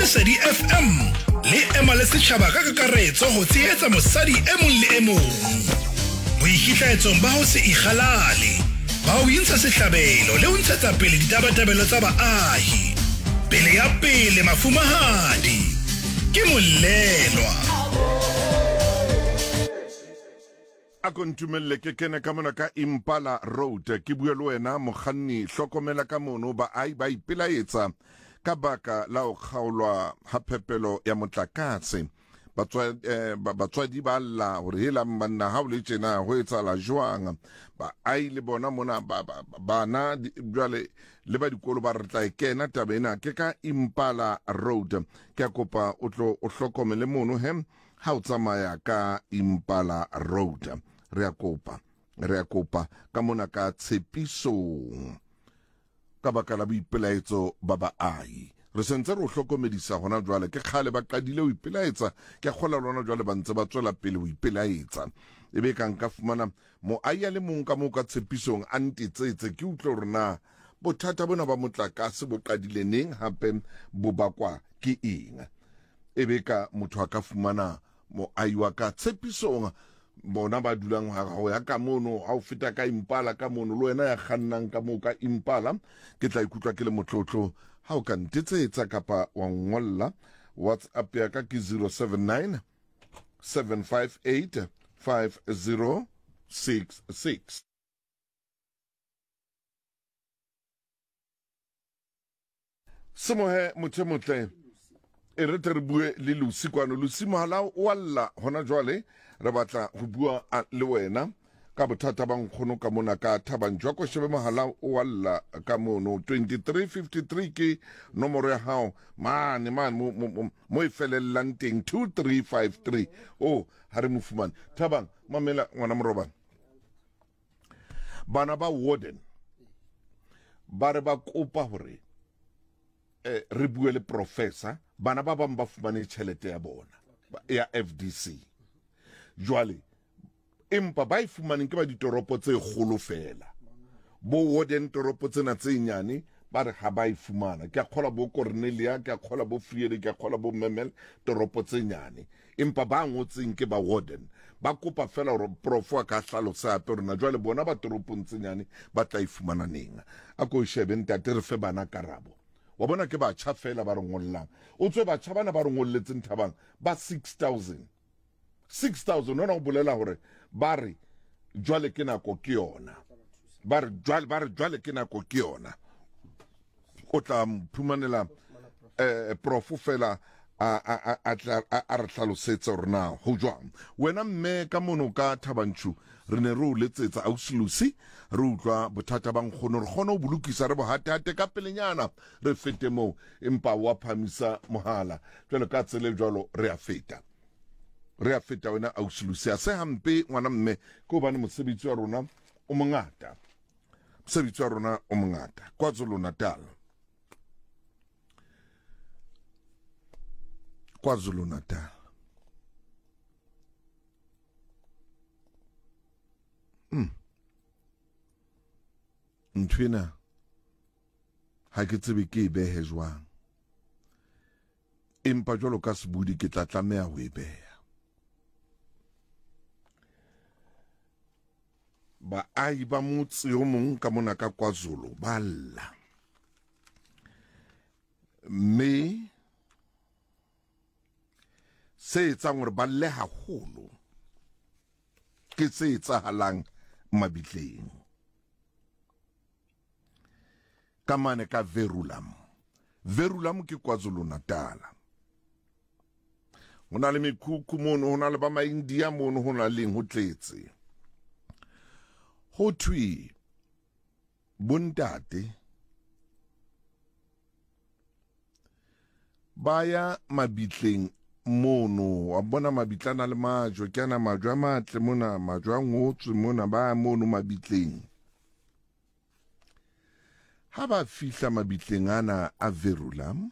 Lesedi FM le ema le setjhaba ka kakaretso ho tshehetsa mosadi e mong le e mong boikitlaetsong ba ho se ikgalale, ba ho intsha sehlabelo le ho ntshetsa pele ditabatabelo tsa baahi. Pele ya pele mafumahadi ke mollelwa. A ko ntumelle ke kene ka mona ka Impala Road ke bue le wena mokganni. Hlokomela ka mono baahi ba ipelaetsa ka baka la ho kgaolwa ha phepelo ya motlakase. Batswadi ba lla hore helang banna ha o le tjena ho etsahala jwang. Baahi le bona mona bana jwale le ba dikolo ba re tla e kena taba ena ke ka Impala Road. Ke a kopa o tlo o hlokomele mono he Ha o tsamaya ka Impala Road, re a kopa, re a kopa ka mona ka tshepisong ka baka la boipelaetso ba baahi. Re sentse re o hlokomedisa hona jwale, ke kgale ba qadile ho ipelaetsa, ke a kgola lona jwale ba ntse ba tswela pele ho ipelaetsa. E be ka nka fumana moahi a le mong ka moo ka tshepisong a ntetsetse ke utlwe hore na bothata bona ba motlakase bo qadile neng hape bo bakwa ke eng. E be ka motho a ka fumana moahi wa ka tshepisong bona ba dulang ho ya ka mono ha o feta ka Impala ka mono le wena ya kgannang ka moo ka Impala ke tla ikutlwa ke le motlotlo ha o ka ntetsetsa kapa wa ngolla WhatsApp ya ka ke 079 758 5066. Semohe motho e motle e re tle re bue le Lucy kwano. Lucy mohala o a lla hona jwale, re batla ho bua le wena ka bothata ba nkgono ka mona ka Thabang Jwa. Ko shebe mohala o a lla ka mono 2353 ke nomoro ya hao mane mane mo, mo, mo, mo e felellang teng 2353. Oh, ha re mo fumane. Thabang, mamela ngwana morobana. Bana ba warden ba re ba kopa hore eh, re bue le professor. Bana ba bang ba fumane tjhelete ya bona ya FDC jwale, empa ba e fumaneng ke ba ditoropo tse kgolo fela. Bo warden toropo tsena tse nyane ba re ha ba e fumana. Ke a kgola bo Cornelia, ke a kgola bo Friede, ke a kgola bo Memel, toropo tse nyane. Empa ba ngotseng ke ba warden. Ba kopa fela hore profo a ka hlalosa hape hore na jwale bona ba toropong tse nyane ba tla e fumana neng. A ko shebe ntate re fe bana karabo. Wa bona ke batjha fela ba re ngollang. O tswe batjha bana ba re ngolletseng Thabang ba 6000. 6000 hona ho bolela hore ba re jwale ke nako ke yona. Ba re jwale, ba re jwale ke nako ke yona. O tla mphumanela eh profo fela a a a tla a re hlalosetse hore na ho jwang. Wena mme ka mono ka Thabanchu re ne re o letsetsa ausi Lucy re utlwa bothata ba nkgono re kgone ho bolokisa re bohatehate ka pelenyana re fete moo empa wa phamisa mohala jwalo ka tsele jwalo re a feta re a feta wena ausi Lucy a se hampe ngwana mme ke hobane mosebetsi wa rona o mongata mosebetsi wa rona o mongata KwaZulu-Natal KwaZulu-Natal Nthwena ha ke tsebe ke e behe jwang empa jwalo ka sebudi ke tla tlameha ho e beha. Baahi ba motse o mong ka mona ka KwaZulu ba lla mme se etsang hore ba lle haholo ke se etsahalang mabitleng ka mane ka Verulam. Verulam ke KwaZulu-Natal. Ho na le mekhukhu mono, ho na le ba Maindia mono, ho na leng ho tletse. Ho thwe bontate ba ya mabitleng mono, wa bona mabitla a na le majwe, ke ana majwe a matle mona, majwe a ngotswe mona, ba ya mono mabitleng. Ha ba fihla mabitleng ana a Verulam,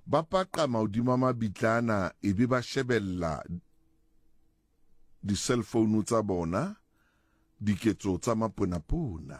ba paqama hodima mabitla ana ebe ba shebella di-cell phone tsa bona diketso tsa maponapona.